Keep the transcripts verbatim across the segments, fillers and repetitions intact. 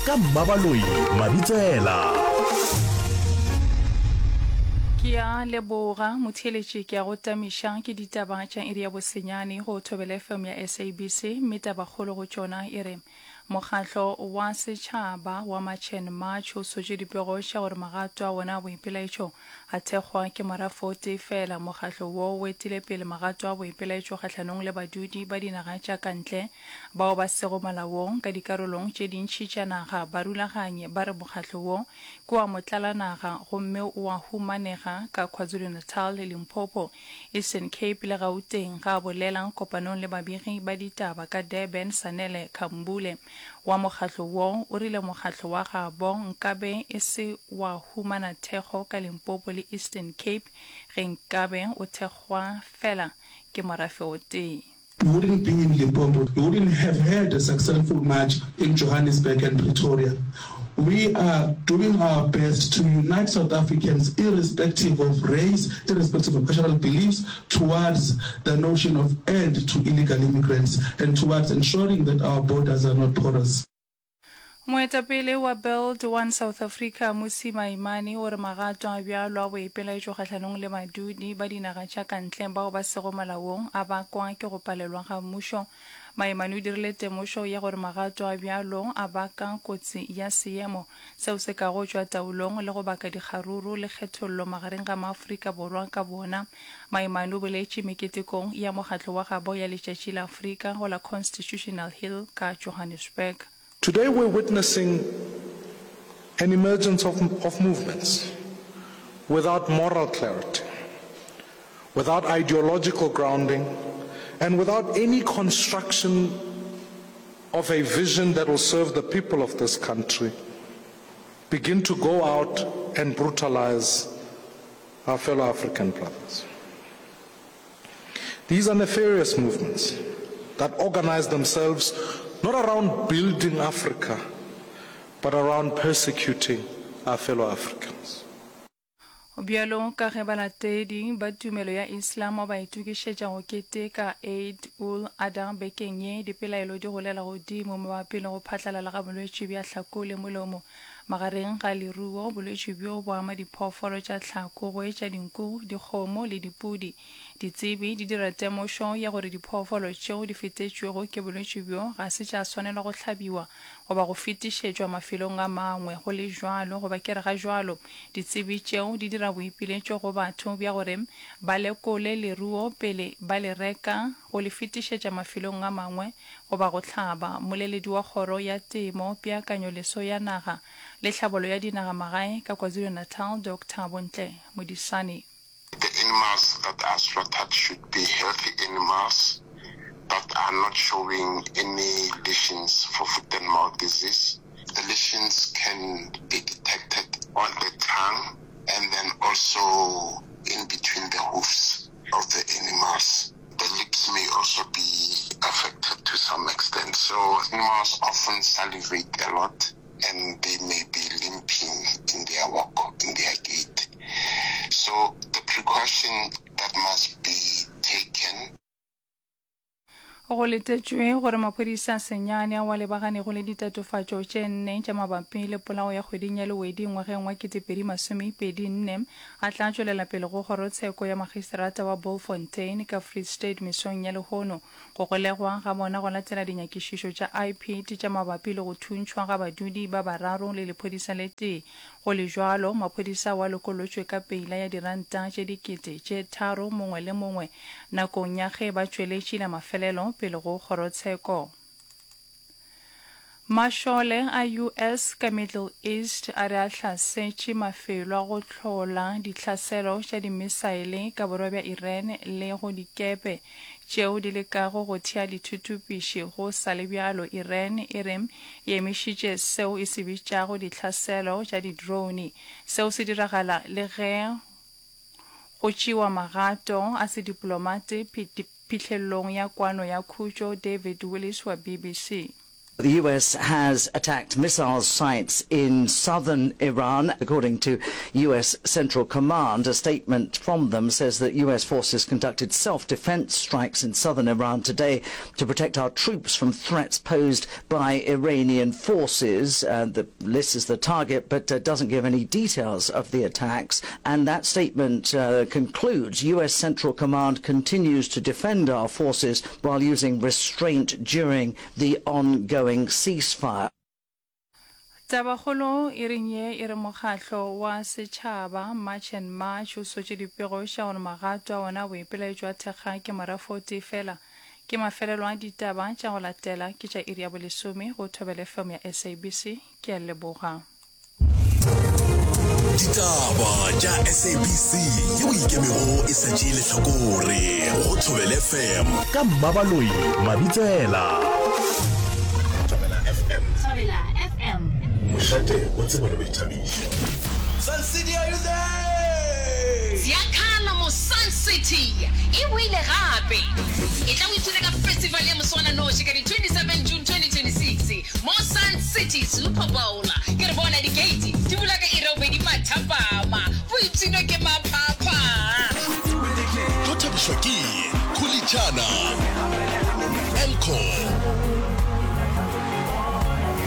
Ka Mmabaloi Mabitsela. Ke a leboga motheeletši ke a go tamiša ke ditaba tša iri ya bosenyane go Thobela F M ya S A B C, mme tabakgolo go tšona e re mokgatlo wa setšhaba wa March and March o sotše dipego tša gore magato a wona a boipelaetšo a thekgwa ke morafo o tee fela. Mokgatlo wo o etile pele magato a boipelaetšo kgahlanong le badudi ba dinaga tša ka ntle bao ba sego molaong ka dikarolong tše dintši tša naga. Barulaganyi ba re mokgatlo wo ke wa motlalanaga gomme o a humanega ka KwaZulu-Natal, Limpopo, Eastern Cape le Gauteng. Ga a bolela kopanong le babegi ba ditaba ka Durban, Sanele Khambule wa mokgatlo wo o rile mokgatlo wa gabo nkabe e se wa humana thekgo ka Limpopo le Eastern Cape ge nkabe o thekgwa fela ke morafe o tee. We wouldn't be in Limpopo. We wouldn't have had a successful march in Johannesburg and Pretoria. We are doing our best to unite South Africans, irrespective of race, irrespective of cultural beliefs, towards the notion of end to illegal immigrants and towards ensuring that our borders are not porous. Moetapele wa Build One South Africa Mmusi Maimane o re magato a bjalo a boipelaetšo kgahlanong le badudi ba dinaga tša ka ntle bao ba sego molaong a bakwa ke go palelwa ga mmušo. Maimane o dirile temošo ya gore magato a bjalo a baka kotsi ya seemo seo se kago tšwa taolong le go baka dikgaruru le kgethollo magareng ga maAfrika Borwa ka bona. Maimane o boletše meketekong ya mokgatlo wa gabo ya Letšatši la Afrika go la Constitutional Hill ka Johannesburg. Today we're witnessing an emergence of, of movements without moral clarity, without ideological grounding, and without any construction of a vision that will serve the people of this country, begin to go out and brutalize our fellow African brothers. These are nefarious movements that organize themselves not around building Africa, but around persecuting our fellow Africans. Bjalo ka ge balatedi ba tumelo ya Islam ba itokišetša go keteka Eid ul-Adha bekeng ye, dipelaelo di golela godimo mabapi le go phatlalala ga bolwetši bja hlako le molomo magareng ga leruo. Bolwetši bjo bo ama diphoofolo tša tlhako go etša dinku, dikgomo le dipudi. Ditsebi di dira temošo ya gore diphoofolo tšeo di fetetšwego ke bolwetši bjo ga se tša swanelwa go hlabiwa goba go fetišetšwa mafelong a mangwe. Go le bjalo, goba ke re ga bjalo, ditsebi tšeo di dira boipiletšo go batho bja gore ba lekole leruo pele ba le reka, go le fetišetša mafelong a mangwe goba go hlaba. Mmoleledi wa Kgoro ya Temo, Peakanyoleso ya Naga le Tlhabollo ya Dinagamagae ka KwaZulu-Natal, Doctor Bontle Modisane. The animals that are slaughtered should be healthy animals that are not showing any lesions for foot and mouth disease. The lesions can be detected on the tongue and then also in between the hoofs of the animals. The lips may also be affected to some extent. So animals often salivate a lot and they may be limping in their walk, in their gait. So the precaution that must be taken. Go letetšwe gore maphodisa a senyane ao a lebaganego le ditatofatšo tše nne tša mabapi le polao ya kgweding ya Lewedi ngwageng wa ketepedi masomepedi nne a tla tšwelela pele go kgorotsheko ya magistrata wa Bultfontein ka Free State mesong ya lehono. Go golegwa ga bona go latela dinyakišišo tša I P D tša mabapi le go thuntšhwa ga badudi ba bararo le lephodisa le tee. Go le bjalo, maphodisa ao a lokolotšwe ka peila ya diranta tše dikete tše tharo mongwe le mongwe nakong ya ge ba tšweletše la mafelelo pele go kgorotsheko. Mašole a U S ka Middle East a re a hlasetše mafelo a go hlola ditlhaselo tša dimisaele ka borwa bja Iran le go dikepe tšeo di lekago go thea dithuthupiši. Go sa le bjalo, Iran e re e emišitše seo e se bitšago ditlhaselo tša di-drone. Seo se diragala le ge go tšewa magato a sediplomate phihlelelong ya kwano ya khutšo. David Willis wa B B C. The US has attacked missile sites in southern Iran, according to US Central Command. A statement from them says that US forces conducted self-defense strikes in southern Iran today to protect our troops from threats posed by Iranian forces. Uh, the list is the target, but uh, doesn't give any details of the attacks. And that statement uh, concludes US Central Command continues to defend our forces while using restraint during the ongoing ceasefire. Tabakgolo e reng ye e re mokgatlo wa setšhaba March and March o sotše dipego tša gore magato a ona a boipelaetšo a thekga ke morafo o tee fela. Ke mafelelo a ditaba tša go latela ke tša iri ya bolesome go Thobela FM ya SABC. Ke a leboga. Ditaba tša SABC yeo e ikemego e sa tšee lehlakore go Thobela FM ka Mmabaloi Mabitsela. Thobela FM. Thobela FM. Mošate wa tsebo le boithabišo. Sun City are you there? Ziyakhala mo Sun City e boile gape. Etla o ipshine ka festival ya moswananoši ka di twenty seven June twenty twenty six mo Sun City Super Bowl. Ke re bona di-gate di bula ka iri ya bobedi mathapama. Boipshino ke maphapha. Tlo thabišwa ke Khulitšana, Elco,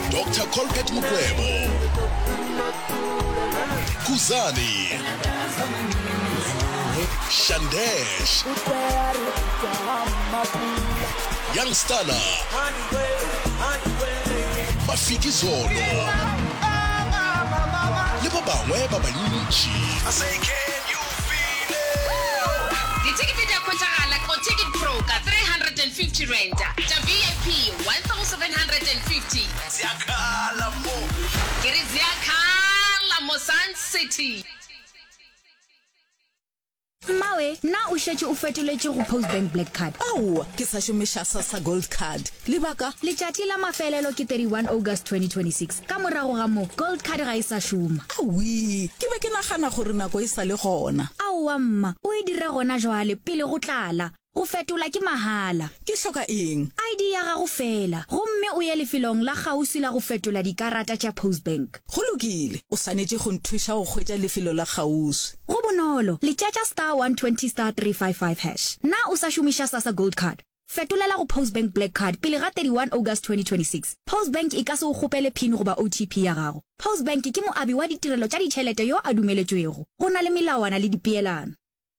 Doctor Colbert Mukwevho, Khuzani, Shandesh, Young Stunna, Mafikizolo le ba bangwe ba bantši. Dithekete di a hwetšagala go Ticket Pro ka three hundred and fifty rand, tša V I P one thousand hundred and fifty. Ziyakhala mo. Ke re ziyakhala mo Sun City. Mmawe, na o šetše o fetoletše go Postbank Black Card? Aowa, ke sa šomiša Sassa Gold Card. Lebaka? Letšatši la mafelelo ke thirty one August twenty twenty six. Ka morago ga moo, Gold Card ga e sa šoma. Awii, ke be ke nagana gore nako e sa le gona. Aowa mma, o e dire gona jwale pele go tlala. Go fetola ke mahala. Ke hloka eng? I D ya gago feela, gomme o ye lefelong la kgauswi la go fetola dikarata tša Postbank. Go lokile, o swanetše go nthuša go hwetša lefelo la kgauswi. Go bonolo, letšetša star one twenty star three five five hash. Na o sa šomiša Sassa Gold Card? Fetolela go Postbank Black Card pele ga thirty one August twenty twenty six. Postbank e ka se o kgopele PIN goba O T P ya gago. Postbank ke moabi wa ditirelo tša ditšhelete yo a dumeletšwego. Go na le melawana le dipeelano.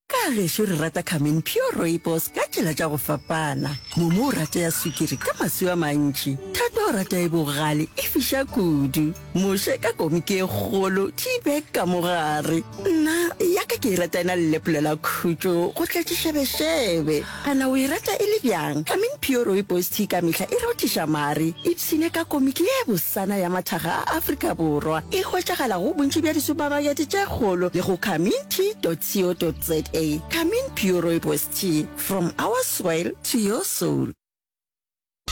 Ka gešo re rata Carmen Pure Rooibos ka tsela tša go fapana. Momo o rata ya sukiri ka maswi a mantši. Thato o rata e bogale e fiša kudu. Moshe ka komiki e kgolo, tea bag ka mo gare. Nna ya ka ke e rata e na le lepolo la khutšo go tletše šebešebe. Kana o e rata e le bjang? Carmen Pure Rooibos Tea ka mehla e rothiša mare. Ipshine ka komiki ye bosana ya mathaga a Afrika Borwa. E hwetšagala go bontši bja disupamakete tše kgolo le go carmen tea dot co dot za. Carmen Pure Rooibos Tea, from our soil to your soul.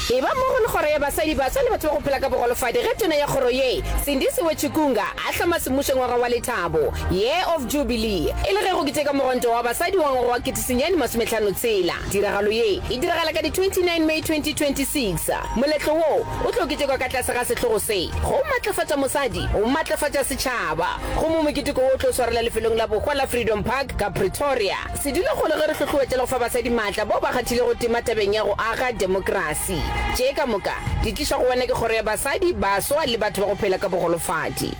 Eba mmogo le Kgoro ya Basadi, Baswa le Batho ba go Phela ka Bogolofadi ge Tona ya Kgoro ye, Sindisiwe Chikunga, a hloma semmušo ngwaga wa lethabo, Year of Jubilee, e le ge go keteka mogwanto wa basadi wa ngwaga wa kete senyane masomehlano tshela. Tiragalo ye e diragala ka di twenty nine May twenty twenty six. Moletlo wo o tlo ketekwa ka tlase ga sehlogo se, Go Matlafatša Mosadi, Go Matlafatša Setšhaba. Gomme moketeko wo o tlo swarelwa lefelong la bohwa la Freedom Park ka Pretoria. Sedulakgolo ge re hlohloetša le go fa basadi maatla bao ba kgathilego tema tabeng ya go aga demokrasi. Tše ka moka di tlišwa go wena ke Kgoro ya Basadi, Baswa le Batho ba go Phela ka Bogolofadi.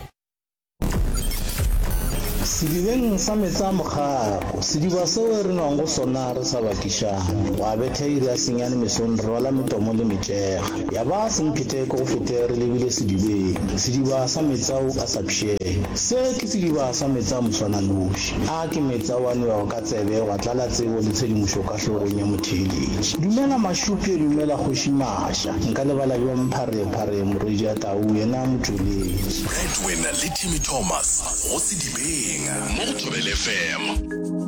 Sedibeng sa meetse a mokgako, sediba seo re nwang go sona re sa bakišane. Gwa betha iri ya senyane mesong re rwala metomo le metšega. Ya ba semphete ke go fete re lebile sedibeng, sediba sa meetse ao a sa pšhege. Se ke sediba sa meetse a moswananoši. A ke meetse ao a nwewago ka tsebe gwa tlala tsebo le tshedimošo ka hlogong ya motheeletši. Dumela Mašupje, dumela Kgoši Maša. Nka lebala bjang Pharephare morwedi ya tau yena motšweletši. Bradwin le Timmy Thomas go Sedibeng mo go Thobela F M.